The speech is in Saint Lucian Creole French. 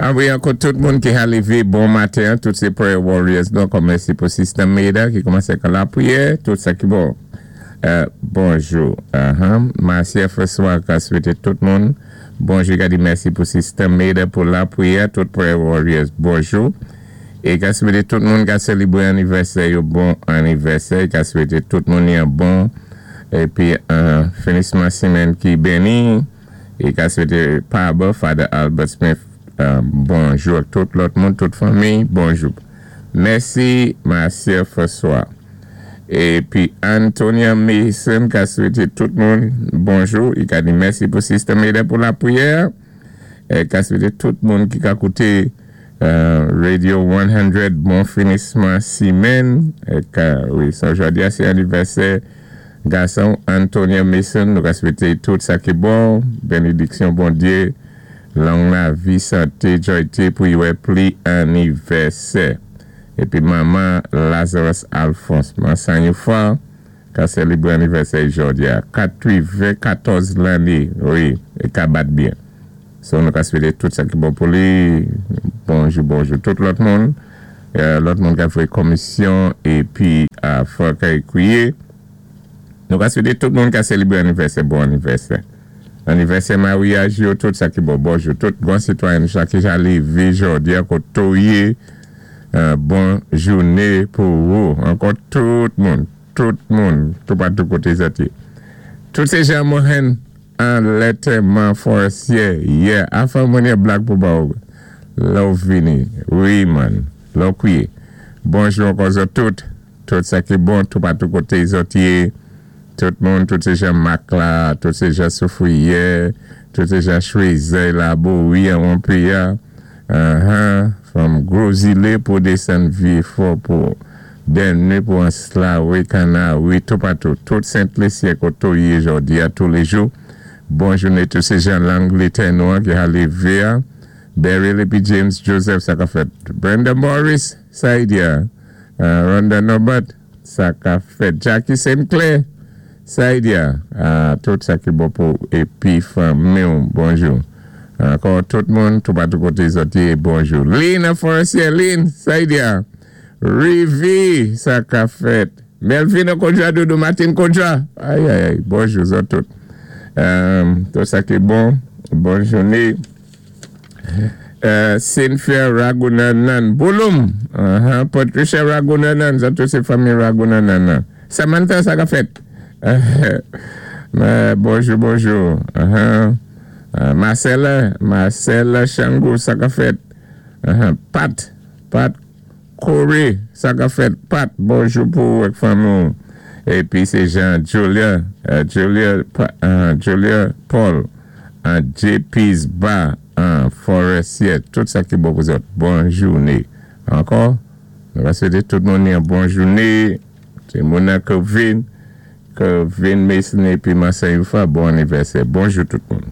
An wi, ankò tout moun ki ka lévé bon maten, tout sé prayer warriors. Donk, mèsi pou Sister Maida ki koumansé ak lapriyè, tout sa ki bon. Bonjou. Marcia François ka swété tout moun. Bonjou, ka di mèsi pou Sister Maida pou lapriyè, tout prayer warriors. Bonjou. É ka swété tout moun ka sélébwé anivèsè yo bon anivèsè. Ka swété tout moun yon bon épi yon finisman simenn ki béni. É ka swété Paba, Father Albert Smith, bonjou ak tout lòt moun, tout fanmi, bonjou. Mèsi, Marcia François. Épi Antonia Mason ka swété tout moun bonjou. I ka di mèsi pou Sister Maida pou lapriyè. É ka swété tout moun ki ka kouté Radio 100 bon finisman simenn. É ka, wi, sa jòdi a sé anivèsè gason Antonia Mason. Nou ka swété tout sa ki bon, bénédiksyon Bondyé, long lavi, santé, jwayté pou i wè pli anivèsè. Épi manman Lazarus Alphonse Mansanyoufa ka sélébwé anivèsè jòdi a 94 lanné, wi, é ka bat byen. So nou ka swété tout sa ki bon pou li. Bonjou, bonjou tout lòt moun. Lòt moun ka fè komisyon épi a fòk ékwiye. Nou ka swété tout moun ka sélébwé anivèsè, bon anivèsè. Anivèsè maryaj yo, tout sa ki bon. Bonjou tout bon sitwayen sa ki ja lévé jòdi a koté ou yé. Bon jouné pou ou. Ankò tout moun, tout moun, toupatou koté zòt yé. Tout sé Jean Mohen an Letterman Forestier. Yeah, afan mwen yon blag pou ba ou. Lè ou vini. Wi man, lè ou kwiye. Bonjou ankò zòt tout. Tout sa ki bon, toupatou koté zòt yé. Tout moun, tout sé Jean Marc la, tout sé Jean Soufrière, tout sé Jean Choisey la, Bowie an Rompeya, from Gwo Zilé pou désann Vyé-Fò pou Dènye pou Anse-La-Raye, Kanawi, toupatou, tout Sent-Lisyen koté ou yé jòdi a touléjou. Bon jouné tout sé Jean Langletè nou an ki ka lévé a. Beryl épi James Joseph sa ka fèt. Brenda Morris, Saidia, Rhonda Norbert, sa ka fèt. Jackie Sinclair, Saidia, tout sa ki bon pou épi fanmi ou, bonjou. Ankò tout moun, toupatou koté zòt yé, bonjou. Lynn Forestier, Lynn, Saidia, Rivi, sa ka fèt. Melvin Kodja, Doudou Martin Kodja, ay ay ay, bonjou zòt tout. Tout sa ki bon, bon jouné. Cynthia Ragunanan, Bouloum, Patricia Ragunanan, sa tout sé fanmi Ragunanan. Samantha, sa ka fèt. Bonjou, bonjou. Marcella, Marcella Chango, sa ka fèt. Pat, Pat Corey, sa ka fèt. Pat, bonjou pou ou ak fanmi ou. Épi sé Jean Julia, Julia, Julia Paul, JP's Bar, Forestier, tout sa ki bon pou zòt. Bon jouné. Ankò, nou va swété tout moun yon bon jouné. Sé Mona Kervin, Kervin Mason épi Marcel Youfa, bon anivèsè. Bonjou tout moun.